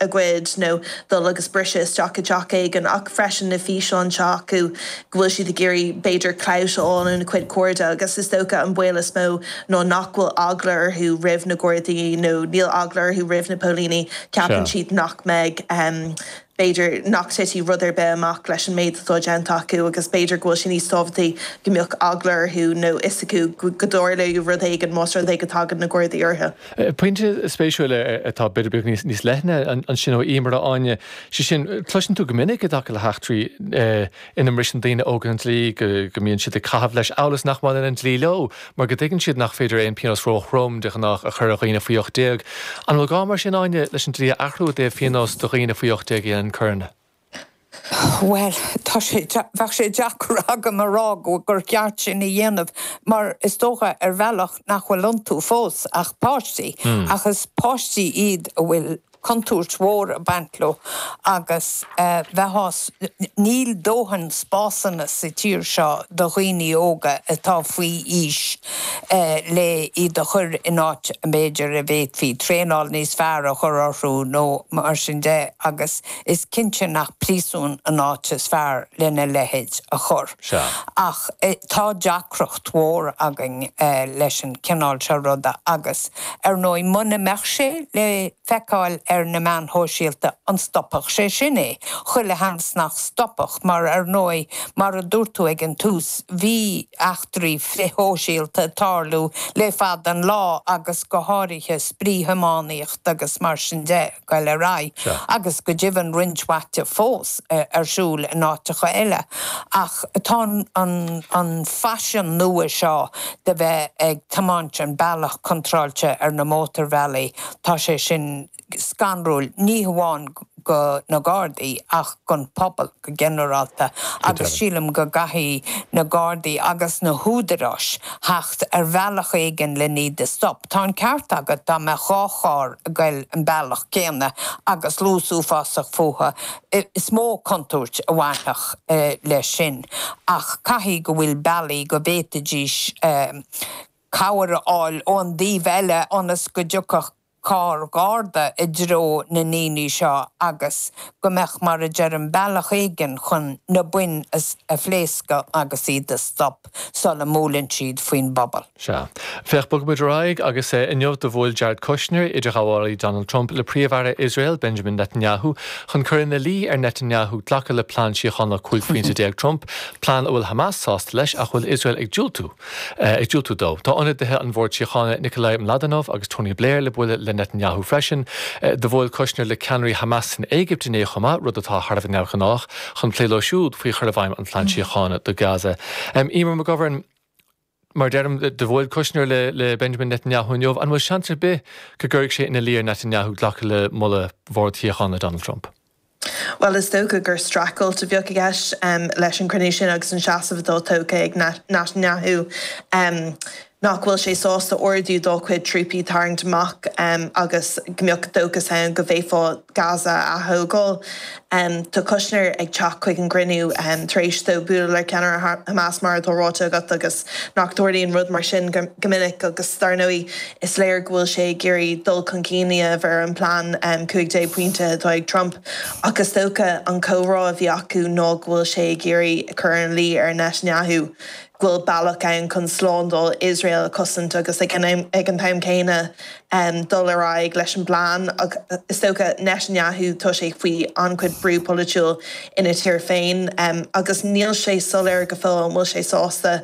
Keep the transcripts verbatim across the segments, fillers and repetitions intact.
a ghoid nó dul agus briseadh isteach i dteach éigin ach freisin na físeáin seo acu go bhfuil siad ag iarraidh b'fhéidir clout a fháil óna cuid cairde agus is dócha an baol is mó ná nach bhfuil eagla orthu roimh na Gardaí nó níl eagla orthu roimh na póilíní ceapann siad nach mbeidh um, b'fhéidir nach dtitfidh rud ar bith amach leis an méid atá déanta acu agus b'fhéidir go bhfuil sé níos tábhachtaí go mbeadh eagla orthu nó fhios acu go dtarlóidh rud éigin más rud é go dtagann na Gardaí orthu. Pointe spéisiúil atá b'fhéidir beag níos níos leithne ansin ó Emer a Áine sé sin cloiseann tú go minic i dtaca le heachtraí ina mbriseann daoine óga an dlí go go mbíonn siad ag caitheamh leis amhail is nach mbaineann an dlí leo, mar go dtuigeann siad nach féidir aon phionós róthrom de ghnáth a chur ar dhaoine faoi ocht déag. An bhfuil gá mar sin Áine leis an dlí a athrú i dtaobh pionós do dhaoine faoi ocht déag a dhéanann coireanna? Well tá sé bheadh sé deacair agam a rá go gur ceart sin a dhéanamh mar is dócha ar bhealach nach bhfuil iontu fós ach páistí mm. ach is páistí iad a bhfuil contúirt mhór ag baint leo agus uh, bheith níl dóthain spásanna sa tír seo do dhaoine óga atá faoi aois uh, le iad a chur in áit b'fhéidir a bhféadfaí traenáil níos fearr a chur orthu nó mar sin de agus is cinnte nach príosún an áit is fearr lena leithéid a chur. Ach eh, tá deacracht mhór againn eh, leis an cineál seo ruda agus ar ndóigh muna mbeadh sé le feiceáil ar na meáin shóisialta an stopfadh sé sin é. Chuile sheans nach stopfadh mar ar ndóigh mar a dúirt tú ag an tús bhí eachtraí frithshóisialta ag tarlú le fada an lá agus go háirithe spraoithiománaíocht agus mar sin de go le rá agus go deimhin roinnt mhaith fós ar siúl in áiteacha eile. Ach tá an, an faisean nua seo de bheith ag tiomáint an bealach contráilte ar na mótarbhealaí tá sé sin scanrúil ní hamháin go na Gardaí ach don pobal go ginearálta agus sílim go gcaithfidh na Gardaí agus na húdaráis theacht ar bhealach éigin le iad a stop. Tá an ceart agat dá mbeadh dhá charr ag goil an bealach céanna agus luas uafásach fúthu is mó contúirt a bhainfeadh eh, leis sin ach caithfidh go bhfuil bealaí go bhféadfaidís eh, cabhair a fháil ón dtaobh eile ionas go dtiocfadh carr garda i dtreo na ndaoine seo agus go mbeadh mar a deirim bealach éigin chun na boinn a phléascadh agus iad a stop sula mbuaileann siad faoin bpobal. Sea. Féach bogfaimid ar aghaidh agus inniu do bhuail Jared Kushner idirghabhálaí Donald Trump le Príomh-Aire Iosrael Benjamin Netanyahu chun cur ina luí ar Netanyahu glacadh le plean síochána cúig phointe déag Trump, plean a bhfuil Hamas sásta leis ach bhfuil Iosrael ag diúltú ag diúltú dó. Tá ionadaithe an Bhord Síochána Nikolai Mladenov agus Tony Blair le bualadh le Netanyahu freisin, do bhuail Kushner le ceannairí Hamas san Éigipt inné chomh maith rud atá thar a bheith neamhghnách chun plé leo siúd faoi chur i bhfeidhm an phlean síochána do Gaza. Um, Emer McGovern, mar deirim do bhuail Kushner le, le Benjamin Netanyahu inniu, an bhfuil seans ar bith go gcuirfidh sé ina luí ar Netanyahu glacadh le moladh Bhord Síochána Donald Trump. Well is dócha gur streachailt a bheadh i gceist um, leis an gcruinniú sin agus an seasamh atá tógtha ag Netanyahu. Um, nach bhfuil sé sásta ordú dá chuid trúpaí tarraingt amach um, agus go mbeadh dóchas ann go bhféadfá Gaza a thógáil. Um, tá Kushner ag teacht chuig an gcruinniú um, tar éis dó bualadh le ceannaire Hamas mar atá ráite agat agus nach dtarlaíonn rud mar sin go, go minic agus dar ndóigh is léir go bhfuil sé ag iarraidh dul chun cinn a bheith an plean um, cúig déag pointe atá ag Trump agus dócha an comhrá a bhí acu ná go bhfuil sé ag iarraidh cur ina luí ar Netanyahu bhfuil bealach ann chun slándáil Iosrael a chosaint agus ag an ag an t-am céanna um, dul ar aghaidh leis an bplean is dócha Netanyahu tá sé faoi an-chuid brú polaitiúil ina tír féin um, agus níl sé soiléir go fóill an bhfuil sé sásta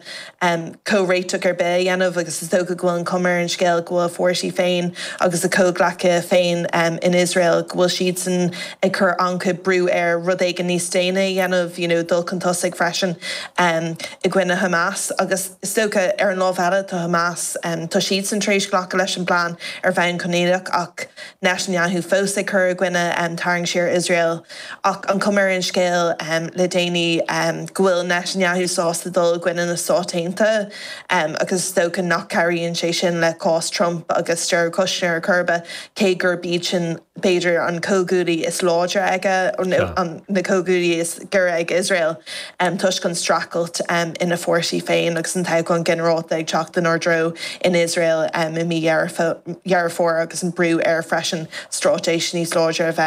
um, comhréiteach ar bith a dhéanamh agus is dócha go bhfuil an chuma ar an scéal go bhfuil fórsaí féin agus a chomhghleacaithe féin um, in Israel go bhfuil siad san ag cur an-chuid brú ar rud éigin níos déine a dhéanamh you know, dul chun tosaigh freisin um, i gcoinne Hamas agus is dócha ar an lámh eile tá Hamas um, tá siad san tar éis glacadh leis an bplean ar bhonn coinníollach ach Netanyahu fós ag cur i gcoinne um, tarraingt siar Israel ach an chuma ar an scéal um, le déanaí um, go bhfuil Netanyahu sásta dul i gcoinne na Stát Aontaithe um, agus is dócha nach gcabhraíonn sé sin le cás Trump agus Jared Kushner curbe cé gur b'iad sin b'fhéidir an comhghuaillí is láidre aige an na comhghuaillí is gaire ag Israel um, toisc an streachailt um, ina fórsaí féin agus an toghchán ginearálta ag teacht inár dtreo in Israel um, i mí Dheireadh Fómhair agus an brú air freisin straitéis níos láidre a bheith